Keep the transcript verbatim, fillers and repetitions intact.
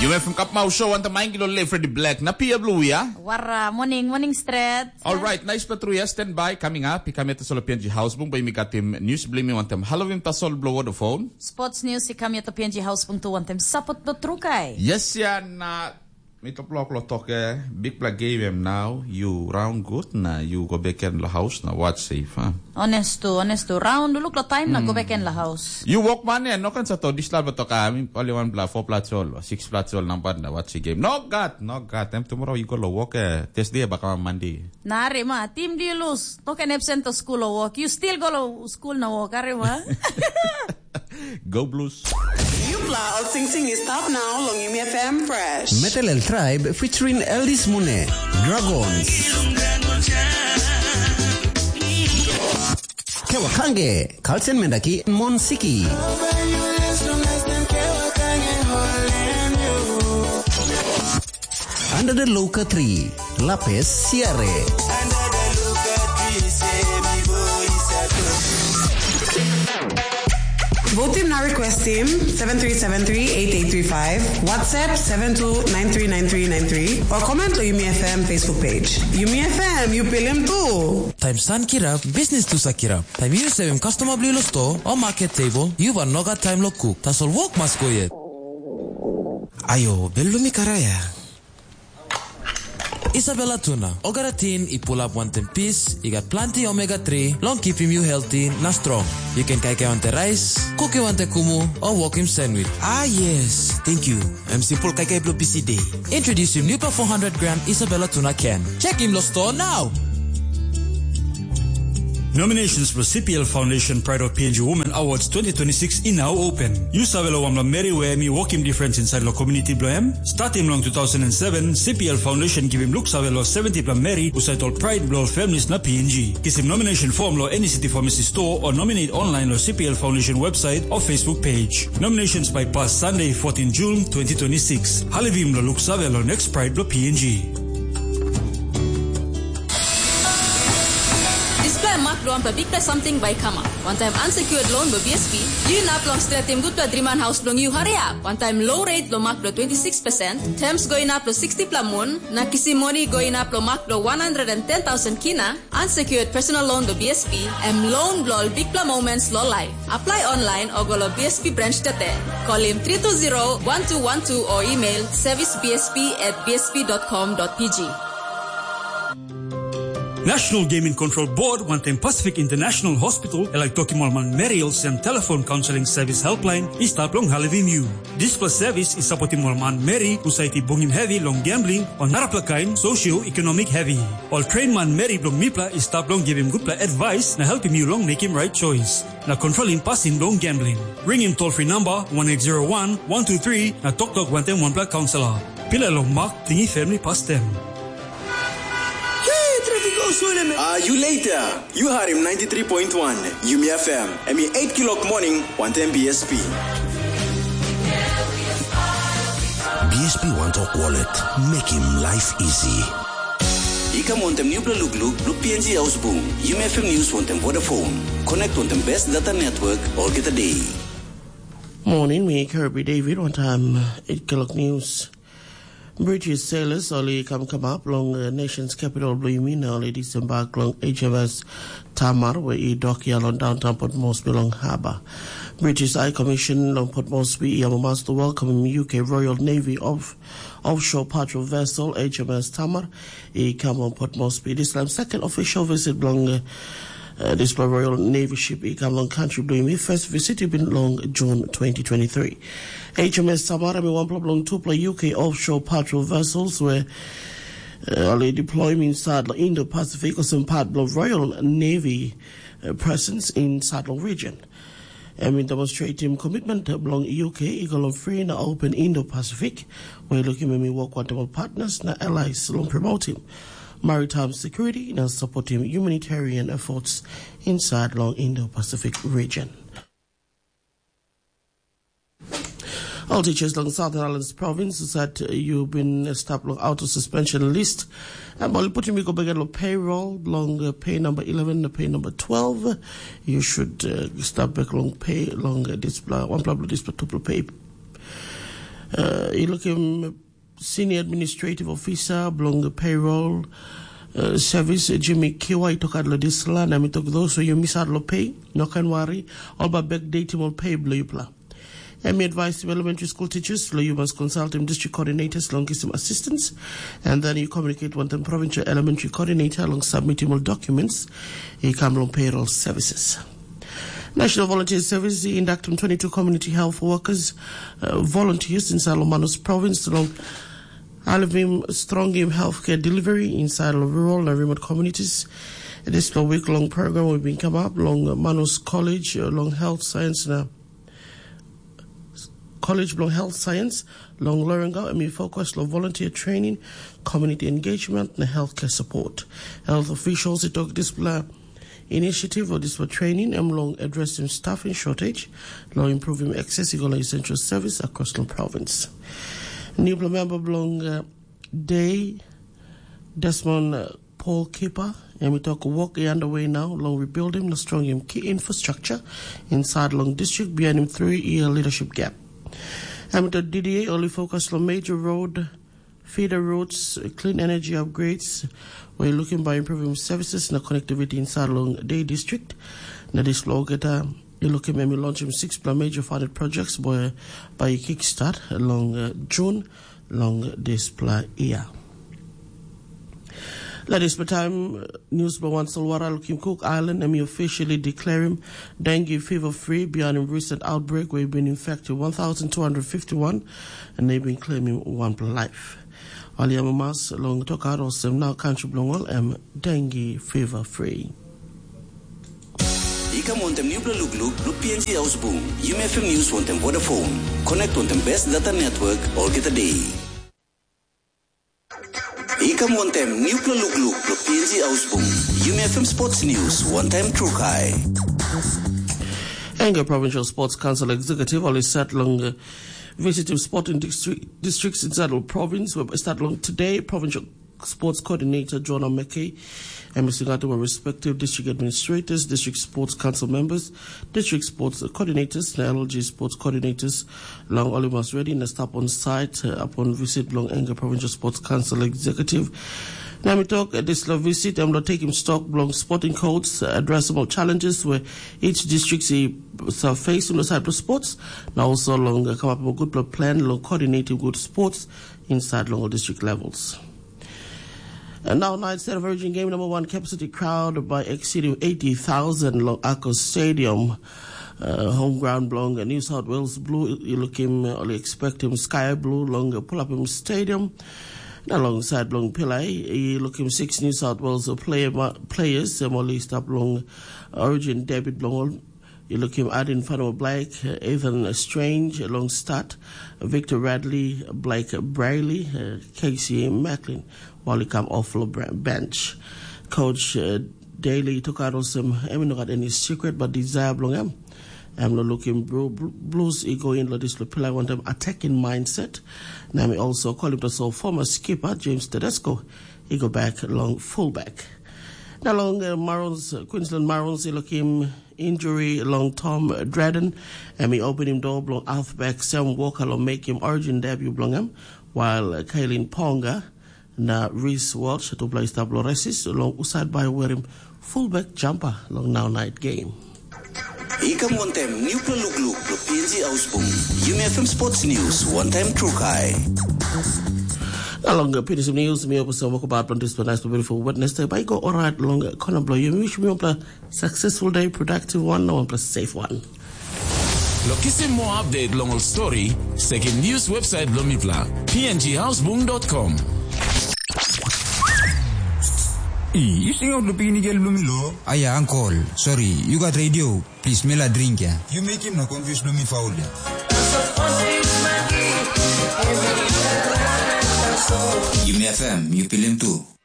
Yu mekim kapmau show wantaim Maingilo le Freddy Black na Pia Blue ya. Wara, morning, morning stret. Alright, nice patruya, stand by, coming up. I kam yet solo P N G House Bung, by mi got him news bling mi wantaim Halloween tasol blow the phone. Sports news i kam yet P N G House Bung tu wantaim support do trukai. Yes ya na mi top lok lo toke, big black game em now, you round good na you go back in the house na watch safe, ha. Honest tu, honest tu. Round, look lo time na go back in the house. You walk man ya, no kan sa to dislal betok ami, pali one bla, four pla chol, six pla chol, number na watch the game. No God, no God. Em tomorrow you go lo work, eh, Thursday baka Monday. Na are ma, team di lose. No can absent to school or work. You still go lo school na work, are ma? Go Blues. Yupla ol sing sing is stop now long Yumi F M Fresh. Metal El Tribe featuring Eldis Mune, Dragons. Kewa Kange, Kalsen Mendaki, Mon Siki. Under the Loka Tree, Lapes Siare. Vote team na request team seven three seven three eight eight three five, WhatsApp seven two nine three nine three nine three, or comment on Yumi F M Facebook page. Yumi F M, you pilim too. Taim san kirap, bisnis tu sa kirap. Taim yu sevim kastoma bilong lo sto o market table, yu van nogat taim lo kuk. Tasol wok mas go yet. Ayo, belumi karaya. Isabella tuna, ogara tin i pulap wantaim pis, i gat planti omega three, long kipim yu healthy na strong. Yu ken kaikai wantaim rais, kukim wantaim kumu, o wokim sandwich. Ah yes, thank you. Em simple kaikai bilong busy day. Introducing new four hundred gram Isabella tuna can. Check him lo store now. Nominations for C P L Foundation Pride of P N G Women Awards twenty twenty-six in now open. You save lo wamla meri where mi working difference inside lo community blo em. Starting long two thousand and seven, C P L Foundation giving look save lo seventy pla meri usait all pride blo families na P N G. Kisim nomination form lo any city pharmacy store or nominate online lo C P L Foundation website or Facebook page. Nominations by pass Sunday, fourteen June twenty twenty-six. Halivim lo look save lo next pride blo P N G. Dispela em mak bilong wanpela bikpela samting bai i kamap. Wantaim unsecured loan bilong B S P, yu inap long stretim gutpela driman haus bilong yu hariap. Wantaim low rate bilong mak bilong twenty six percent, terms go inap long sixty pela mun, na kisim moni go inap long mak bilong one hundred and ten thousand kina, unsecured personal loan bilong B S P, em loan bilong ol bikpela moments long life. Apply online o go long B S P branch tete. Kolim three two zero one two one two o email service B S P at B S P dot com dot P G. National Gaming Control Board wantaim Pacific International Hospital e laik tokim ol manmeri olsem telefon kaunseling sevis helpline i stap long helpim yu. Dispela sevis i sapotim ol manmeri husat i bungim hevi long gambling o narapela kain sosioekonomik hevi. Ol tren manmeri bilong mipela i stap long givim gutpela advais na helpim yu long mekim rait choice na kontrolim pasin bilong gambling. Ringim toll free number one eight zero one one two three na toktok wantaim wanpela kaunselor. Pilai long mak tingim famili pastem. Hey, traffic go slow, man. Ah, you later. You heard him ninety-three point one, Yumi F M. Em i eight kilok morning, wantaim B S P. B S P One Talk Wallet. Make him life easy. I kam wantaim nupela lukluk, luk P N G Ausbung, Yumi F M News wantaim Vodafone. Connect wantaim best data network, olgeta day. Morning, mi Kirby David, wantaim eight kilok news. British sailors ol i kam kamap long uh, nation's capital bilong yumi na ol i disembark long H M S Tamar we i dok ya long downtown Port Moresby long harbor. British High Commission long Port Moresby i amamas to welcome U K Royal Navy of offshore patrol vessel H M S Tamar i kam long Port Moresby. Dispela second official visit bilong uh, uh, dispela Royal Navy ship i kam long country bilong yumi. First visit i bin long June twenty twenty-three. H M S Tamar em i wanpela bilong tupela U K offshore patrol vessels we uh, ol i deployim inside long Indo-Pacific olsem part bilong Royal Navy uh, presence inside long region. Em i demonstratim komitmen bilong U K i go long free na open Indo-Pacific, we lukim em i wok wantaim ol partners na allies long promotim maritime security na supportim humanitarian efforts inside long Indo-Pacific region. All teachers long Southern Islands Province said you been stop long auto suspension list. And while putting me go back at payroll, long uh, pay number eleven, the pay number twelve, you should uh, stop back long pay long uh, this blah, one blah, blah, this blah, two blah, pay. Uh, i lukim senior administrative officer bilong payroll uh, service, Jimmy Kiwa, i tokat lo dispela, na mi tok those who you miss out lo pay, no can worry, all ba backdating ol pay bilong yupela. Em i advise elementary school teachers lo you must consult them district coordinators long kisim assistance, and then you communicate with them provincial elementary coordinator long submitting all documents i kam long payroll services. National Volunteer Service i induct twenty-two community health workers, uh, volunteers inside Lomanus province long Alvim strong im healthcare delivery inside long rural and remote communities. This long week long program will be come up long Manus College, uh, long health science na College bilong Health Science, long Lorenga, em i focus long volunteer training, community engagement, na healthcare support. Health officials i tok dispela initiative o dispela training em long addressing staffing shortage, long improving access i go long essential service across long province. Newpela member bilong uh, day, Desmond uh, Paul Kipa, em i tok work i underway now long rebuilding na strongim key infrastructure inside long district behind him three-year leadership gap. Em i tok D D A only focus long major road, feeder roads, clean energy upgrades, where looking by improving services na connectivity inside long day district. Na this law get a you look him launch him six plus major funded projects where by kickstart along uh, June long dispela year. Let us time news by one Solwara looking Cook Island and officially declare him dengue fever free beyond a recent outbreak where he been infected one thousand two hundred fifty-one and they been claiming one life. Aliama mas long toka rosem now country blong all em dengue fever free. I kam wantem nupela lukluk long P N G Ausbung. Yumi F M News wantem Vodafone. Connect wantem best data network olgeta day. I kam wantem nupela lukluk long P N G Ausbung. Yumi F M Sports News, one time true kai. Enga Provincial Sports Council Executive oli set long uh, visiting sporting district, districts inside the province where start long today. Provincial Sports Coordinator John Omeke, M S Ngatu were respective district administrators, district sports council members, district sports coordinators, na L G sports coordinators, long Olimas Ready na stop on site uh, upon visit belong Enga Provincial Sports Council Executive. Na mi tok uh, dis lo visit em lo taking stock belong sporting codes, uh, addressable challenges where each district is uh, facing the side of sports. Na also long uh, come up with a good plan long coordinating good sports inside long district levels. And now night set of Virgin Game number one capacity crowd by exceeding eighty thousand long Ako Stadium. Uh, home ground belong New South Wales Blue, you look him, uh, expect him Sky Blue long uh, pull up him stadium. Alongside belong Pillay, you look him six New South Wales uh, player, players, um, only stop long Origin debut belong You look him add in front of Blake, uh, Ethan Strange, long start, Victor Radley, Blake Brayley, uh, Casey Macklin, while he come off the bench. Coach uh, Daly took out some, I mean, not any secret, but desire belong him. I'm not looking bro, blues, he go in, this pillar want them attacking mindset. Now we also call him the so former skipper, James Tedesco. He go back long fullback. Now long uh, Marons, uh, Queensland Marons, he look him injury long Tom Dredden, em i openim dua bilong halfback Sam Walker long mekim origin debut bilong em, while Kaylin Ponga na Reece Walsh tupela i stap long resis long husat bai werim fullback jumper long nau night game. I kam wantem nupela lukluk lo P N G Ausbung. Yumi F M Sports News, one time true kai. Along the P N G News, mi opus sa wakabat long this nice beautiful Wednesday. Bai go alright long kona blo yumi wish mi opla successful day, productive one, na one plus safe one. Lo kisim moa update long ol stori, sekim news website bilong mipela, p n g houseboom dot com. I, yu singaut lo pikinini gel bilong mi lo? Aia, ankol, sori, yu gat redio, plis, mi la dring ya. Yu mekim na confuse bilong mi faul ya. Yumi F M, yu pilim tu.